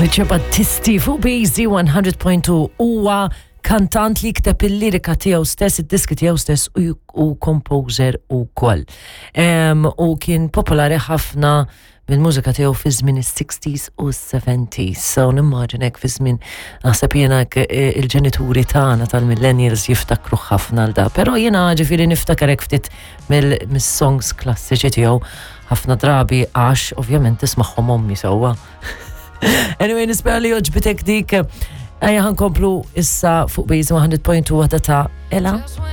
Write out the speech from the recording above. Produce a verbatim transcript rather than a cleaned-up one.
Lucio Battisti fuq B Z one hundred point two huwa kantant li kteb il-lirika tiegħu stess, id-diski tiegħu stess u, u composer ukoll. Um, u kien popolari ħafna bil-mużika tiegħu fi żmien is-sixties u s-seventies. So nimmaġinek fi żmien, naħseb jiena, eh, il-ġenituri tagħna tal-millennials jiftakru ħafna l da. Però jiena ġifieri niftakar hekk ftit mill-songs klassiċi tiegħu ħafna drabi għax ovvjament tismagħhom ommi sewwa. Anyway, nispera li għoġbitek dik. Ejja ħa nkomplu issa fuq B Z one hundred point two, waħda ta' Ela.